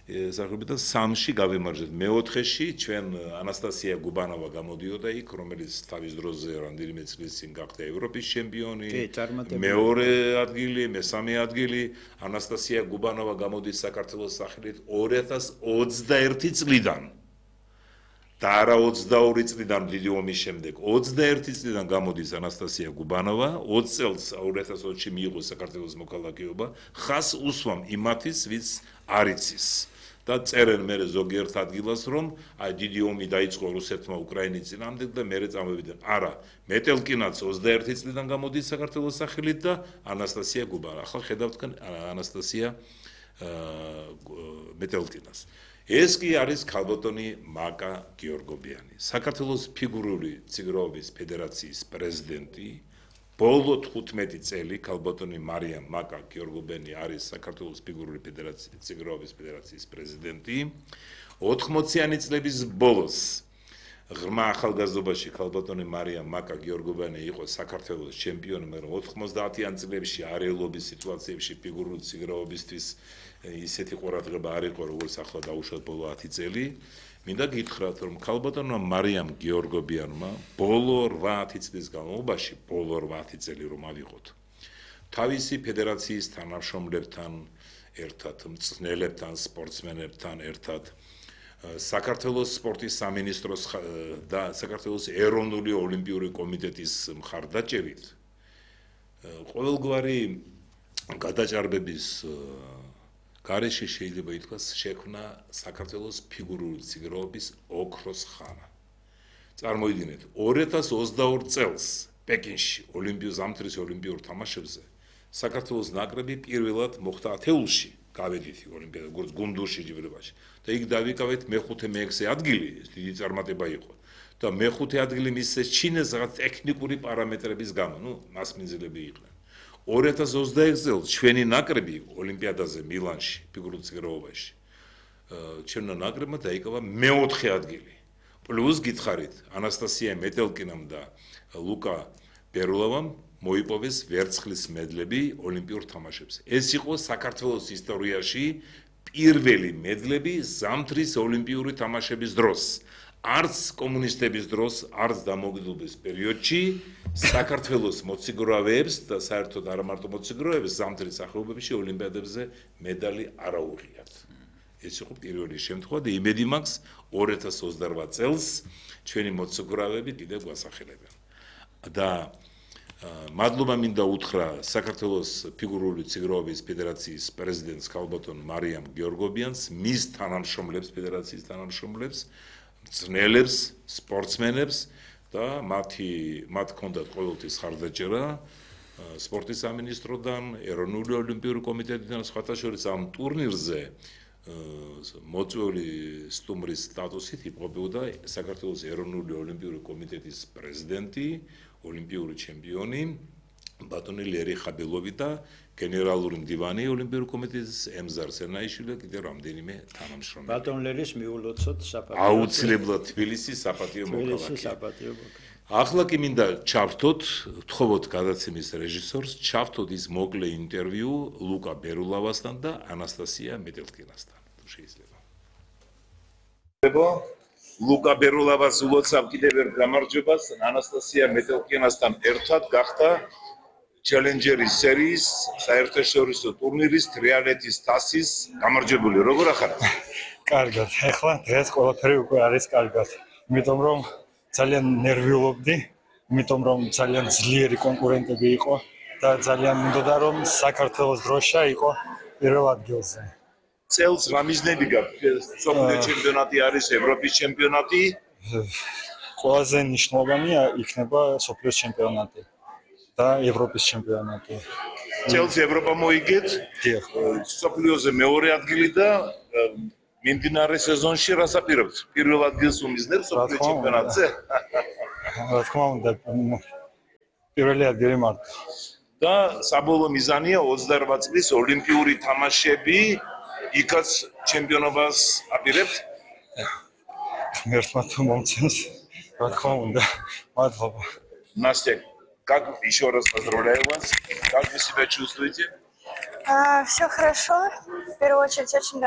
საერთოდ 3-ში გავიმარჯვეთ. მე-4-ში ჩვენ ანასტასია გუბანოვა გამოდიოდა იქ, რომელიც თავის დროზე რამდენიმე წლის წინ გახდა ევროპის ჩემპიონი. მეორე ადგილი, მესამე ადგილი. ანასტასია გუბანოვა გამოდის საქართველოს სახელით 2021 წლიდან. და არა 22 წლიდან დიდი ომის შემდეგ 21 წლიდან გამოდის ანასტასია გუბანოვა 20 წელს 2020-ში მიიღო საქართველოს მოქალაქეობა ხას უსვამ იმათის ვინც არ იცის და წერენ მე ზოგიერთ ადგილას რომ აი დიდი ომი დაიწყო რუსეთმა უკრაინის წინააღმდეგ და მე წამოვიდნენ არა მეტელკინაც 21 წლიდან გამოდის საქართველოს სახელით და ანასტასია გუბანოვა ახლა ხედავთ ანასტასია მეტელკინას ეს კი არის ქალბატონი მაკა გიორგობიანი საქართველოს ფიგურული ციგროვების ფედერაციის პრეზიდენტი ბოლო 15 წელი ქალბატონი მარიამ მაკა გიორგობიანი არის საქართველოს ფიგურული ციგროვების ფედერაციის პრეზიდენტი 80-იანი წლების ბოლოს ღრმა ახალგაზრდობაში ქალბატონი მარიამ მაკა გიორგობიანი იყო საქართველოს ჩემპიონი მაგრამ 90-იან წლებში არეულობის სიტუაციებში ფიგურული ციგროვებისთვის ისეთი ყურადღება არ იყო როგორც ახლა დაუშვათ ბოლო 10 წელი მინდა გითხრათ რომ ქალბატონმა მარიამ გიორგობიანმა ბოლო 8 წლის განმავლობაში ბოლო 8 წელი რომ ავიღოთ თავისი ფედერაციის თანამშრომლებთან ერთად მწვრთნელებთან სპორტსმენებთან ერთად საქართველოს სპორტის სამინისტროს და საქართველოს ეროვნული ოლიმპიური კომიტეტის მხარდაჭერით ყოველგვარი გადაჭარბების გარეშე შეიძლება ითქვას შექმნა საქართველოს ფიგურული ციგროვების ოქროს ხანა. წარმოიდგინეთ 2022 წელს პეკინში ზამთრის ოლიმპიურ თამაშებზე საქართველოს ნაკრები პირველად მოხვდა ათეულში გავედით ოლიმპიადა როგორც გუნდურში ჯიბრებაში და იქ დავიკავეთ მე-5 მე-6 ადგილი ეს დიდი წარმატება იყო და მე-5 ადგილი მისცეს ჩინეს რაღაც ტექნიკური პარამეტრების გამო მასმინძლები იყვნენ 2021 წელს ჩვენი ნაკრები ოლიმპიადაზე მილანში ფიგურულ ციგროვობაში ჩვენო ნაკრებმა დაიკავა მე-4 ადგილი პლუს გითხარით ანასტასია მეტელკინამ და ლუკა ბერულოვამ მოიპოვეს ვერცხლის მედლები ოლიმპიურ თამაშებზე ეს იყო საქართველოს ისტორიაში პირველი მედლები ზამთრის ოლიმპიური თამაშების დროს არც კომუნისტების დროს არც დამოუკიდებლობის პერიოდში საქართველოს მოციგროვებს და საერთოდ არა მარტო მოციგროვებს ზამთრის ახალობებში ოლიმპიადებზე მედალი არ აუღიათ ეს იყო პირველი შემთხვევა და იმედი მაქვს 2028 წელს ჩვენი მოციგროვები კიდევ გვასახელებენ და მადლობა მინდა უთხრა საქართველოს ფიგურული ციგროვების ფედერაციის პრეზიდენტს ქალბატონ მარიამ გიორგობიანს მის თანამშრომლებს ფედერაციის თანამშრომლებს მწვრთნელებს, სპორტსმენებს და მათ ჰქონდათ ყოველთვის ხარდაჭერა სპორტის სამინისტროდან, ეროვნული ოლიმპიური კომიტეტიდან, სხვათა შორის ამ ტურნირზე მოწვეული სტუმრის სტატუსით იმყოფებოდა საქართველოს ეროვნული ოლიმპიური კომიტეტის პრეზიდენტი, ოლიმპიური ჩემპიონი ბატონი ლერი ხაბილოვი და გენერალური მდივანი ოლიმპიური კომიტეტის ემზარ სენაიშვილი და კიდევ რამდენიმე თანამშრომელი. ბატონ ლერის მიულოცოთ საპატიო. აუცილებლად თბილისის საპატიო მოქალაქე. ახლა კი მინდა ჩავთოთ, ვთხოვოთ გადაცემის რეჟისორს, ჩავთოთ ის მოკლე ინტერვიუ ლუკა ბერულოვასთან და ანასტასია მეტელკინასთან. თუ შეიძლება. ლუკა ბერულოვას ულოცავ კიდევ ერთ გამარჯვებას ანასტასია მეტელკინასთან ერთად გახდა ჩელენჯერის სერიის საერთაშორისო ტურნირის ტრიალეთის თასის გამარჯვებული. როგორ ახართ? კარგად. ახლა დღეს ყველაფერი უკვე არის კარგად. იმიტომ რომ ძალიან ნერვიულობდი, იმიტომ რომ ძალიან ძლიერი კონკურენტები იყო და ძალიან მინდოდა რომ საქართველოს დროშა იყო პირველ ადგილზე. წელს რა მიზნები გაქვთ? მსოფლიო ჩემპიონატი არის, ევროპის ჩემპიონატი. ყველაზე მნიშვნელოვანია იქნება მსოფლიო ჩემპიონატი. და ევროპის ჩემპიონატი. წელს ევროპა მოიგეთ. დიახ. მსოფლიოზე მეორე ადგილი და მიმდინარე სეზონში რას აპირებთ? პირველ ადგილს უმიზნებს მსოფლიო ჩემპიონატზე? რა თქმა უნდა, პირველი ადგილი მარტო. და საბოლოო მიზანია 28 წლის ოლიმპიური თამაშები. იქაც ჩემპიონობას აპირებთ? ღმერთმა თუ მომცემს, რა თქმა უნდა. მადლობა. Настя, как еще раз поздравляю вас. Как вы себя чувствуете? Все хорошо. В первую очередь очень